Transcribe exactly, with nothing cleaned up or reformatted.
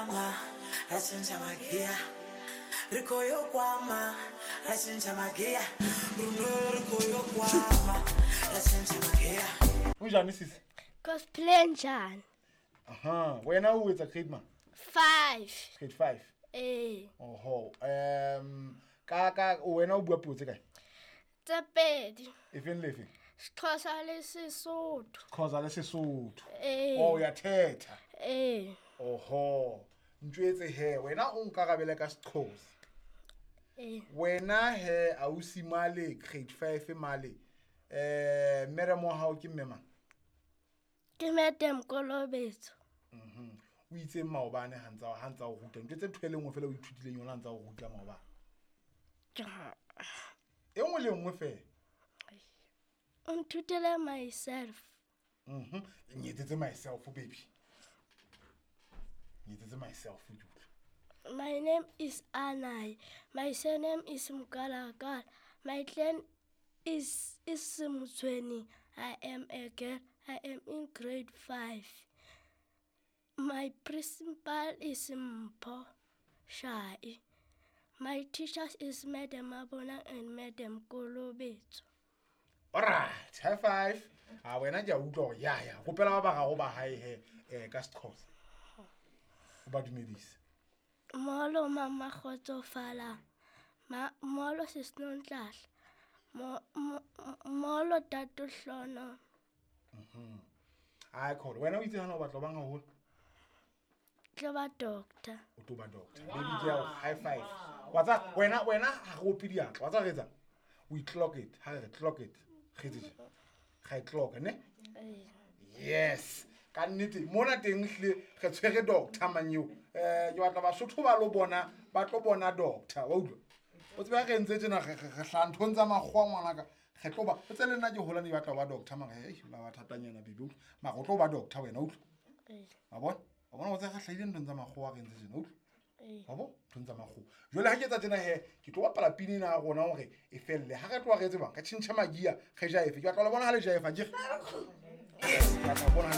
kwama ra tshintsha magiya ri kho yo kwama ra tshintsha magiya runo ri kho yo kwama ra tshintsha magiya. Unjani sisi? Cosplay njani? Aha, wena o etsa grade mang? Five. Grade five. Eh. Oho, um ka ka wena o bua puo tse kae? Tse pedi. E feng le feng? Xhosa le Sesotho. Xhosa le Sesotho. Eh. Oh, ya thetha. Eh. Oho, ntjwetse he, wena o nkarabele ka Sexhosa. Eh. Wena he ausi male grade five male. Eh, mere mo hao ke mme mang? Ke Madam Kolobetso. Mhm. O itse maobane ha ntsa ha ntsa o ruta. Ntjwetse ntho e le nngwe fela o ithutileng yona ha ntsa o ruta maobane. E nngwe le nngwe fela. O nthutile myself. Mhm. Nyetsetse myself baby. Nyetsetse myself ke utlwe. My name is Anai. My surname is Mkalakala. My clan is is Mtsweni. I am a girl. I am in grade five. My principal is Mpho Shai. My teachers is Madam Mabona and Madam Kolobetso. All right, high five. Ah, wena ke a utlwa hore ya ya. Kopela ba ba gago ba hae he eh ka Sexhosa. O ba dumedise. Molo mama kgotsofala. Ma molo sesinontlahle. Mo molo tatohlono. Mhm. Ai kholo, wena o itse hana o batla bang haholo? Tlo ba doctor. O tlo ba doctor. Baby girl, high five. Wa tsa wena wena ha go ope diatla. Wa tsa re etsang? We clock it. Ha re clock it. Re tse. Ga e clock ne? Yes. Ka nnete mona teng hle re tshwere doctor mang eo. Eh ke batla Basotho ba lo bona, ba tlo bona doctor, wa utlwa? O tsebe re ntse tjena re re hla nthong tsa makgowa ngwanaka. Re tlo ba, o tsele nna ke hola ne batla ba doctor mara ei la ba thatanyana baby. Mara o tlo ba doctor wena utlwa. Wa bona? Wa bona o tse re hlahile nthong tsa makgowa re ntse tjena utlwa. Wa bona? Nthong tsa makgowa. Jwale ha ke etsa tjena he, ke tlo bapala pina ena ya rona hore e felle. Ha re tloha re tsebang, re tjhentjha magia, re jaefe. Ke batla le bona ha le jaefa, ke re. Yes, ke batla ho bona.